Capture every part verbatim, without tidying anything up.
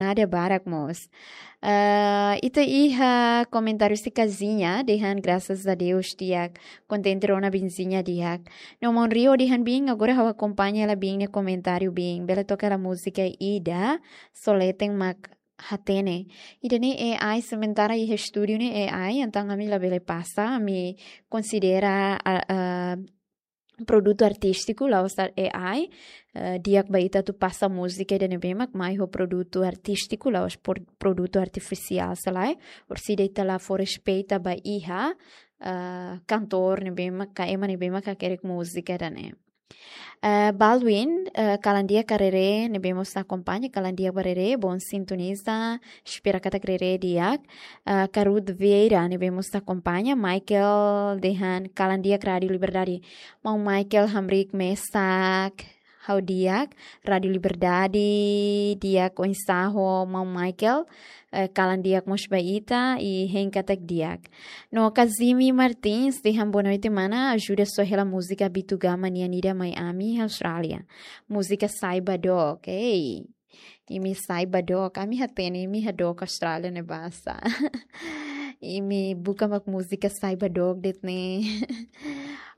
Obrigada barak mós. Ah, ita iha komentáriu husi Kazinha, dehan grasas a Deus di'ak, kontente rona Benzinha di'ak. No maun Rio dehan bin, agora ha'u akompaña hela bin nia komentáriu bin. Bele toka hela múzika ida, só leten mak hatene. Ida-ne'e A I, sementara iha estúdiu ne'e A I, entaun ami labele pasa, ami konsidera, ah, ah, produtu artístiku, la'ós A I, eh, di'ak ba ita atu pasa múzika ida ne'ebé mak mai ho produtu artístiku, la'ós por-, produtu artifisiál, selae, orsida ita la fó respeita ba iha, eh, kantór ne'ebé mak, ka ema ne'ebé mak hakerek múzika ida-ne'e. Eh, Baldwin, eh, kalan di'ak ka Rere, ne'ebé mós akompaña, kalan di'ak ba Rere, bom sintoniza, espera katak Rere di'ak. Ah, Karud Vieira, ne'ebé mós akompaña. Michael dehan kalan di'ak Rádiu Liberdade. Maun Michael hamriik mesak, ha'u di'ak. Rádiu Liberdade di'ak, oinsá ho maun Michael. Eh, kalan di'ak mós ba ita, i hein katak di'ak. No Kazimi Martins dehan boa noite mana, ajuda só hela múzika Abitugama nian ida mai ami Austrália. Múzika Saiba Dook. Ei. Imi saiba dook, ami hatene, imi hadook Austrália ne'e basa. Imi buka mak múzika saiba dook de'it ne'e.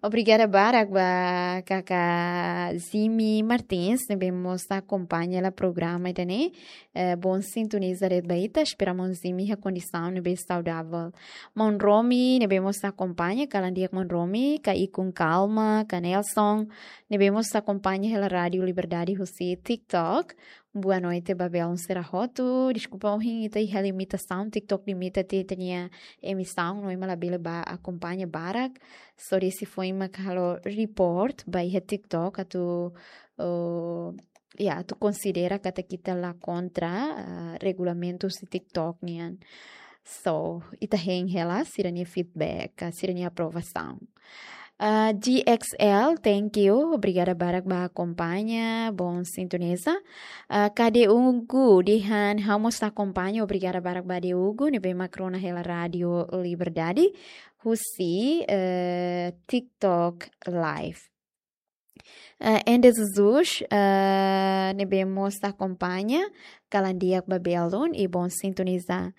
Obrigada barak ba kaka Zimi Martins, ne'ebé mós akompaña hela programa ida-ne'e. Eh, bom sintoniza de'it ba ita, espera maun Zimi iha kondisaun ne'ebé saudavel. Maun Romi, ne'ebé mós akompaña, kalan di'ak maun Romi, ka Ikun Kalma, ka Nelson, ne'ebé mós akompaña hela Rádiu Liberdade husi TikTok. Boa noite ba belun sira hotu. Deskulpa, ohin ita iha limitasaun, TikTok limita tiha ita-nia emisaun, no ema labele bá akompaña barak. Só desi foin mak halo report ba iha TikTok atu, oh, ya, atu konsidera katak ita la kontra, ah, regulamentu husi TikTok nian. So, ita hein hela sira-nia feedback, ah, sira-nia aprovasaun. Ah, G X L, thank you. Obrigada barak ba akompaña, bom sintoniza. Ah, Kade Ugu dehan ha'u mós akompaña, obrigada barak ba Kade Ugu, ne'ebé mak rona hela Rádiu Liberdade husi, eh, TikTok Live. Eh, Ende Jesus, eh, ne'ebé mós akompaña, kalan di'ak ba belun i bom sintoniza.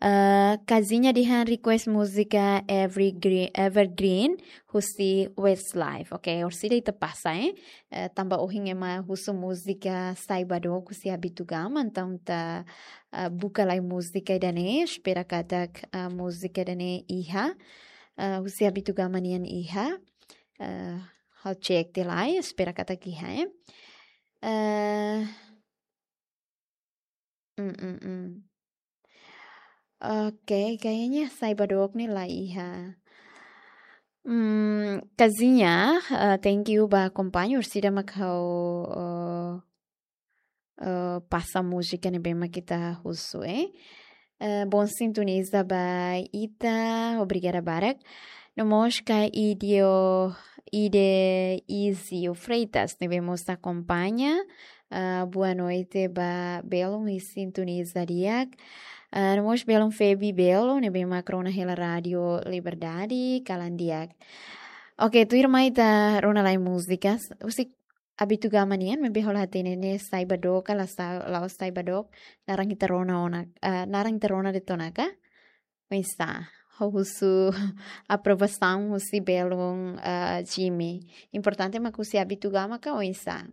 Eh, Kazinha dehan request múzika Evergreen, Evergreen, husi Westlife. Ok, orsida ita pasa, eh? Eh, tanba ohin ema husu múzika Saiba Dook husi Abitugama, entaun ita, eh, buka lai múzika ida-ne'e, espera katak, eh, múzika ida-ne'e iha, eh, husi Abitugama nian iha. Eh, ha'u cek tiha lai, espera katak iha, eh. Eh, mm, mm, mm. Ok, kayaknya Saiba Dook ne'e la iha. Hmm, Kazinha, eh, thank you ba akompaña, orsida mak ha'u, eh, eh, pasa múzika ne'ebé mak ita husu, eh. Eh, bom sintoniza ba ita, obrigada barak. No mós ka Idio, Ide Izio Freitas, ne'ebé mós akompaña. Ah, boa noite ba belun i sintoniza di'ak. Ah, no mós belun Febi Belo, ne'ebé mak rona hela Rádiu Liberdade, kalan di'ak. Ok, tuirmai ita rona lai múzikas. Husi Abitugama nian, maibé ha'u la hatene ne'e Saiba Dook ka la sa-, la'ós Saiba Dook, naran ita rona ona, ah, naran ita rona de'it ona ka? Oinsá, ha'u husu aprovasaun husi belun, ah, Zimi. Importante mak husi Abitugama ka oinsá?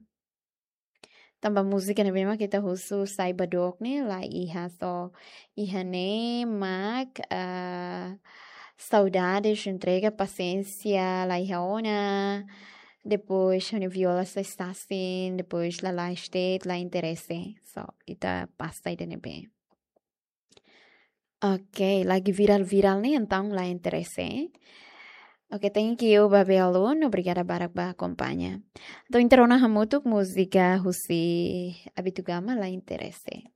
Tanba múzika ne'ebé mak ita husu Saiba Dook ne'e la iha, só iha ne'e mak, ah, Saudades, Entrega, Paciência, la iha ona. Depois, Hone Viola Sestasin, depois Lala State, La Interese. So, ita pasa ida-ne'ebé. Ok, lagi viral-viral ne'e, entaun La Interese. Ok, thank you ba belun, obrigada barak ba akompaña. Entaun, ita rona hamutuk múzika husi Abitugama, La Interese.